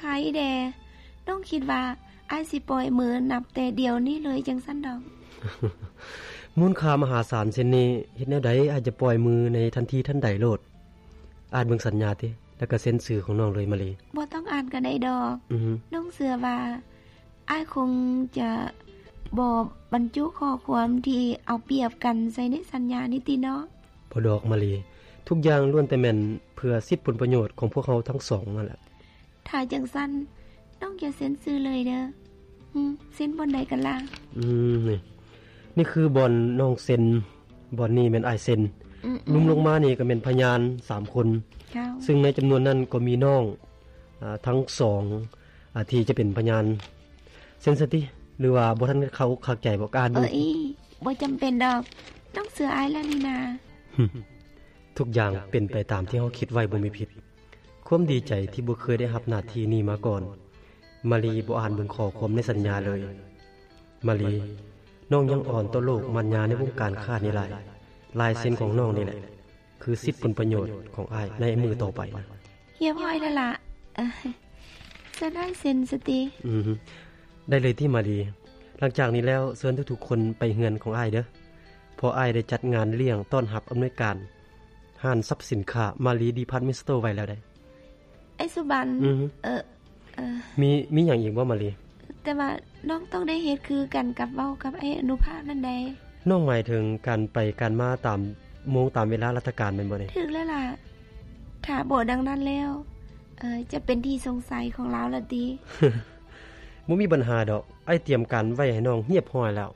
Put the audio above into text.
ໃຜແດ່? ນ້ອງຄິດວ່າອ້າຍຊິປ່ອຍມືນັບແຕ່ດຽວນີ້ເລີຍຈັ່ງຊັ້ນດອກ. ມູນຄ່າມະຫາສານເຊັ່ນນີ້ ເຮັດແນວໃດອ້າຍຈະປ່ອຍມືໃນທັນທີທັນໃດໂລດ. ອ່ານເບິ່ງສັນຍາຕິ ແລ້ວກໍເຊັນຊື່ຂອງນ້ອງເລີຍມາລີ. ບໍ່ຕ້ອງອ່ານກໍໄດ້ດອກ. ອືຮຶ. ນ້ອງເຊື່ອວ່າອ້າຍຄົງຈະບໍ່ບັນຈຸຂໍ້ຄວາມທີ່ເອົາປຽບກັນໃສ່ໃນສັນຍານີ້ຕິເນາະ? ບໍ່ດອກມາລີ, ທຸກຢ່າງລ້ວນແຕ່ແມ່ນເພື່ອສິດຜົນປະໂຫຍດຂອງພວກເຮົາທັງສອງນັ້ນແຫຼະ. ຖ້າຈັ່ງຊັ້ນ ນ້ອງຈະເຊັນຊື່ເລີຍເດີ. ອືມ ເຊັນບ່ອນໃດກັນລະ? ອືມ ນີ້ ນີ້ຄືບ່ອນນ້ອງເຊັນ, ບ່ອນນີ້ແມ່ນອ້າຍເຊັນ. ອືມໆ. ລຸ່ມລົງມານີ້ກໍແມ່ນພະຍານສາມຄົນ. ເຈົ້າ. ຊຶ່ງໃນຈຳນວນນັ້ນກໍມີນ້ອງ ອາ ທັງສອງ ອາ ທີ່ຈະເປັນພະຍານ. ເຊັນຊະຕິ ຫຼືວ່າບໍ່ທັນຄາອົກຄາໃຈບໍ່? ກະອ່ານເບິ່ງ. ເອີຍ ບໍ່ຈຳເປັນດອກ, ນ້ອງເຊື່ອອ້າຍແລ້ວນີ້ນາ. ທຸກຢ່າງເປັນໄປຕາມທີ່ເຮົາຄິດໄວ້ບໍ່ມີຜິດ. ຄວາມດີໃຈທີ່ບໍ່ເຄີຍໄດ້ຮັບໜ້າທີ່ນີ້ມາກ່ອນ. ມາລີບໍ່ອ່ານເບິ່ງຂໍ້ຄວາມໃນສັນຍາເລີຍ. ມາລີ, ນ້ອງຍັງອ່ອນຕໍ່ໂລກມາດຍາໃນວົງການຄ້ານີ້ຫຼາຍ. ລາຍເຊັນຂອງນ້ອງນີ້ແຫຼະ ຄືສິດຜົນປະໂຫຍດຂອງອ້າຍໃນມື້ຕໍ່ໄປນະ. ຮຽບຮ້ອຍແລ້ວລະ. ເຊີນອ້າຍເຊັນຊະຕິ. ອືມ ໄດ້ເລີຍຕິມາລີ. ຫຼັງຈາກນີ້ແລ້ວ ເຊີນທຸກໆຄົນໄປເຮືອນຂອງອ້າຍເດີ, ເພາະອ້າຍໄດ້ຈັດງານລ້ຽງຕ້ອນຮັບອຳນວຍການຮ້ານຊັບສິນຄ້າມາລີດີພາດເມັນສະໂຕໄວ້ແລ້ວໃດ໋. ອ້າຍສຸບັນ. ອືມ. ເອີ ເອີ ມີ ມີຫຍັງອີກບໍ່ມາລີ? ແຕ່ວ່ານ້ອງຕ້ອງໄດ້ເຮັດຄືກັນກັບເວົ້າກັບອ້າຍອະນຸພາບນັ້ນໃດ໋. ນ້ອງໝາຍເຖິງການໄປການມາຕາມໂມງຕາມເວລາລາຊະການແມ່ນບໍ່ນີ້? ຖືກແລ້ວລະ. ຖ້າບໍ່ດັ່ງນັ້ນແລ້ວ ເອີ ຈະເປັນທີ່ສົງໄສຂອງລາວລະຕິ. ບໍ່ມີບັນຫາດອກ, ອ້າຍຕຽມການໄວ້ໃຫ້ນ້ອງຮຽບຮ້ອຍແລ້ວ.